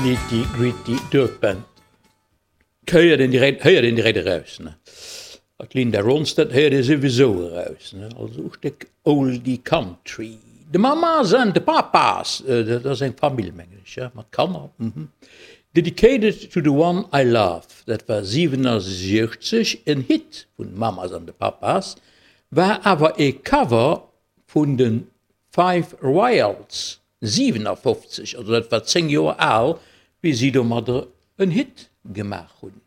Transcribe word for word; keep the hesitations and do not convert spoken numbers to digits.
Nitty Gritty Dirt Band. Héiert een direkt, héiert een direkt eraus, ne? D'Linda Ronstadt héiert ee souwisou eraus, ne? Also e Stéck Oldie Country. The Mamas and the Papas, dat ass eng Famill, mengen ech, ja, mat Kanner, mhm. Dedicated to the one I love, dat war siwenundsechzeg en Hit vun Mamas and the Papas, war awer e Cover vun de Five Royales, siwenafofzeg, also dat war zéng Joer al, wéi si domadder en Hit gemaach hunn.